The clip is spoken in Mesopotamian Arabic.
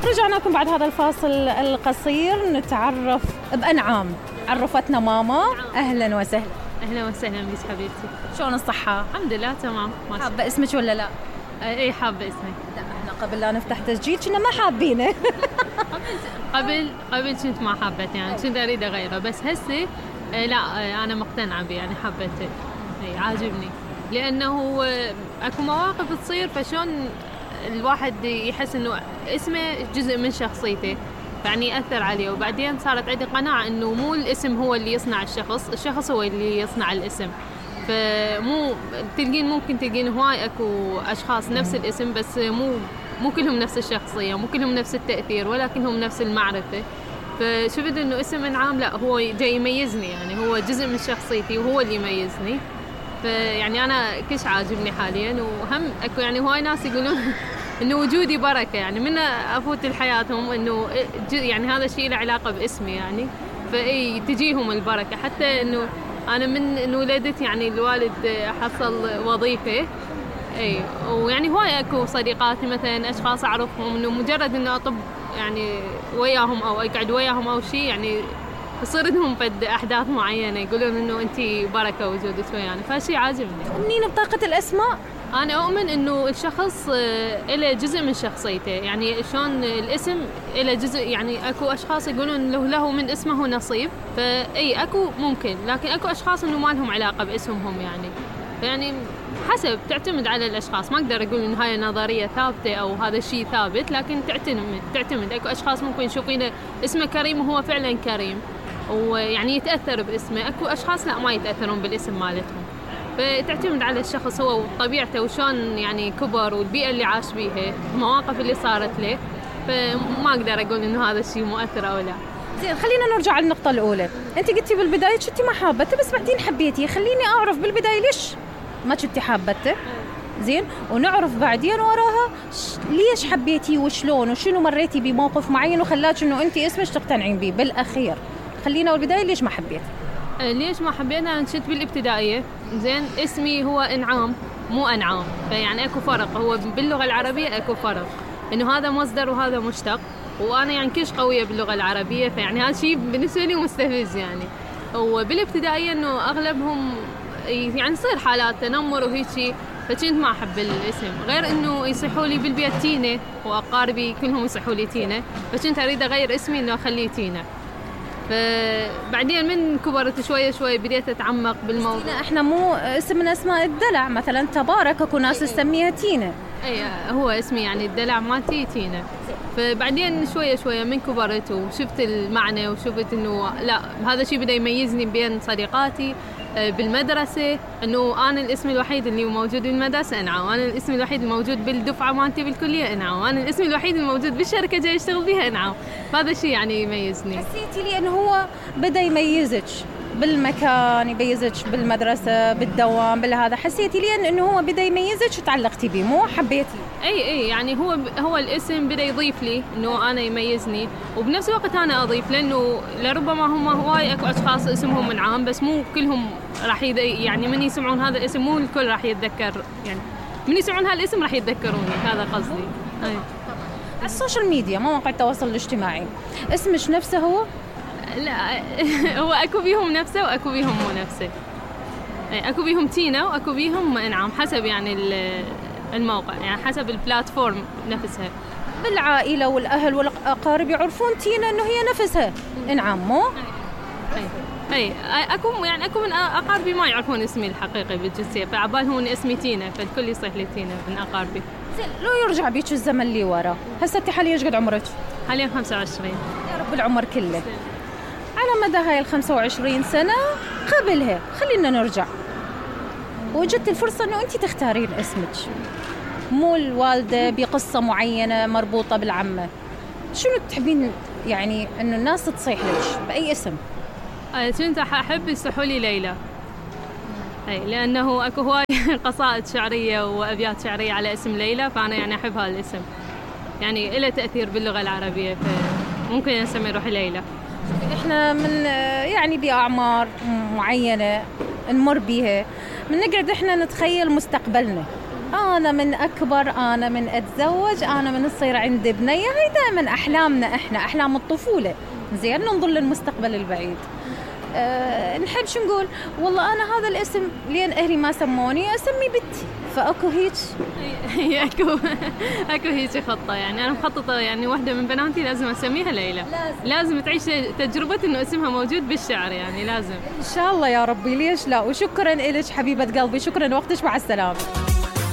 رجعنا لكم بعد هذا الفاصل القصير نتعرف بأنعام. عرفتنا ماما. أهلا وسهلا. أهلا وسهلا بك حبيبتي. شلون الصحة؟ الحمد لله تمام. حابة اسمك ولا لا؟ اي حابة اسمي. لا احنا قبل لا نفتح تسجيل كنا ما حابينه. قبل كنت ما حابته يعني كنت اريد اغيره بس هسه لا انا مقتنعة به يعني حبيته. اي عاجبني لانه اكو مواقف تصير فشون الواحد يحس انه اسمه جزء من شخصيته يعني يأثر عليه وبعدين صارت عندي قناعة انه مو الاسم هو اللي يصنع الشخص هو اللي يصنع الاسم. فمو ممكن تلقين هواي اكو اشخاص نفس الاسم بس مو كلهم نفس الشخصيه مو كلهم نفس التاثير ولكنهم نفس المعرفه. فشفت انه اسم انعام لا هو جاي يميزني يعني هو جزء من شخصيتي وهو اللي يميزني. فيعني انا كش عاجبني حاليا وهم اكو يعني هواي ناس يقولون انه وجودي بركه يعني من افوت لحياتهم انه يعني هذا الشيء له علاقه باسمي يعني فاي تجيهم البركه حتى انه أنا من ولدت يعني الوالد حصل وظيفة أي ويعني هواي أكو صديقاتي مثلا أشخاص أعرفهم إنه مجرد إنه أطب يعني وياهم أو أقعد وياهم أو شيء يعني يصير لهم فد أحداث معينة يقولون إنه أنتي بركة وجودك ويانا فشي عاجبني. تؤمنين بطاقة الأسماء؟ أنا أؤمن إنه الشخص له جزء من شخصيته يعني شلون الاسم له جزء يعني أكو أشخاص يقولون له من اسمه نصيب فأي أكو ممكن لكن أكو أشخاص إنه ما لهم علاقة باسمهم يعني حسب تعتمد على الأشخاص ما أقدر أقول إن هاي نظرية ثابتة أو هذا الشيء ثابت لكن تعتمد أكو أشخاص ممكن يشوفين اسمه كريم وهو فعلا كريم ويعني يتأثر باسمه أكو أشخاص لا ما يتأثرون بالاسم مالتهم. فتعتمد على الشخص هو وطبيعته وشون يعني كبر والبيئة اللي عاش بيها المواقف اللي صارت له فما أقدر أقول إنه هذا الشيء مؤثر أو لا. زين خلينا نرجع على النقطة الأولى. أنت قلتي بالبداية كنتي ما حابته بس بعدين حبيتيه خليني أعرف بالبداية ليش ما كنتي حابته زين ونعرف بعدين وراها ليش حبيتيه وشلون وشنو مريتي بموقف معين وخلاك إنه أنت اسمك تقتنعين به بالأخير. خلينا بالبداية ليش ما حبيتي؟ ليش ما حبيت أنا كنت بالابتدائية زين اسمي هو إنعام مو أنعام فيعني أكو فرق هو باللغة العربية أكو فرق إنه هذا مصدر وهذا مشتق وأنا يعني كش قوية باللغة العربية فيعني هذا شيء بالنسبة لي مستفز يعني. وبالابتدائية إنه أغلبهم يعني يصير حالات تنمر وهيك فكنت ما أحب الاسم غير إنه يصيحوا لي بالبيت تينا وأقاربي كلهم يصيحوا لي تينا فكنت أريد أغير اسمي إنه أخليه تينا. فبعدين من كبرت شوي بديت أتعمق بالموضوع. احنا مو اسم من اسماء الدلع مثلا تبارك اكو ناس تسميها تينا. اي هو اسمي يعني الدلع مالتي تينا. فبعدين شوي من كبرت وشفت المعنى وشفت انه لا هذا الشيء بدا يميزني بين صديقاتي بالمدرسة انه انا الاسم الوحيد اللي موجود بالمدرسة انعام وانا الاسم الوحيد الموجود بالدفعة مالتي بالكلية انعام وانا الاسم الوحيد الموجود بالشركة جاي اشتغل بيها انعام. هذا الشيء يعني يميزني. حسيتي لي انه هو بدا يميزك بالمكان يميزك بالمدرسة بالدوام بالهذا حسيتي لي انه هو بدا يميزك وتعلقتي به مو حبيتي؟ اي يعني هو الاسم بدا يضيف لي انه انا يميزني وبنفس الوقت انا اضيف لانه لربما هم هواي اكو اشخاص اسمهم منعام بس مو كلهم راح يعني من يسمعون هذا الاسم مو الكل راح يتذكر يعني من يسمعون هالاسم راح يتذكروني هذا قصدي. اي على السوشيال ميديا مواقع التواصل الاجتماعي اسمش نفسه هو؟ لا هو اكو بيهم نفسه واكو بيهم مو نفسه. اكو بيهم تينا واكو بيهم انعام حسب يعني الموقع يعني حسب البلاتفورم نفسها. بالعائلة والأهل والأقارب يعرفون تينا إنه هي نفسها إنعام مو؟ أي أكو من أقاربي ما يعرفون اسمي الحقيقي بالجنسية فعبالهم إن اسمي تينا فالكل يصيح لي تينا من أقاربي. زين لو يرجع بيك الزمن اللي ورا هسه أنت حاليا إيش قد عمرك؟ حاليا 25. يا رب العمر كله. على مدى هاي 25 سنة قبلها خلينا نرجع وجدت الفرصة إنه أنت تختارين اسمك مو الوالدة بقصة معينة مربوطة بالعمة شنو تحبين يعني إنه الناس تصيح لك بأي اسم؟ كنت أحب يصيحوا لي ليلى لأنه أكو هواي قصائد شعرية وأبيات شعرية على اسم ليلى فأنا يعني أحب هذا الاسم يعني إله تأثير باللغة العربية فممكن نسمي روحي ليلى. إحنا من يعني بأعمار معينة نمر بيها من نقعد إحنا نتخيل مستقبلنا أنا من أكبر، أنا من أتزوج، أنا من تصير عندي بنية. هاي دائما أحلامنا إحنا، أحلام الطفولة. زين، ننظر للمستقبل البعيد. نحب شو نقول، والله أنا هذا الاسم لين أهلي ما سموني أسمي بنتي، فأكو هيك. هي اكو هيك خطة، يعني أنا مخططة يعني واحدة من بناتي لازم أسميها ليلى. لازم تعيش تجربة إنه اسمها موجود بالشعر، يعني لازم إن شاء الله يا ربي، ليش لا. وشكرا إلك حبيبة قلبي، شكرا وقتك، مع السلامة.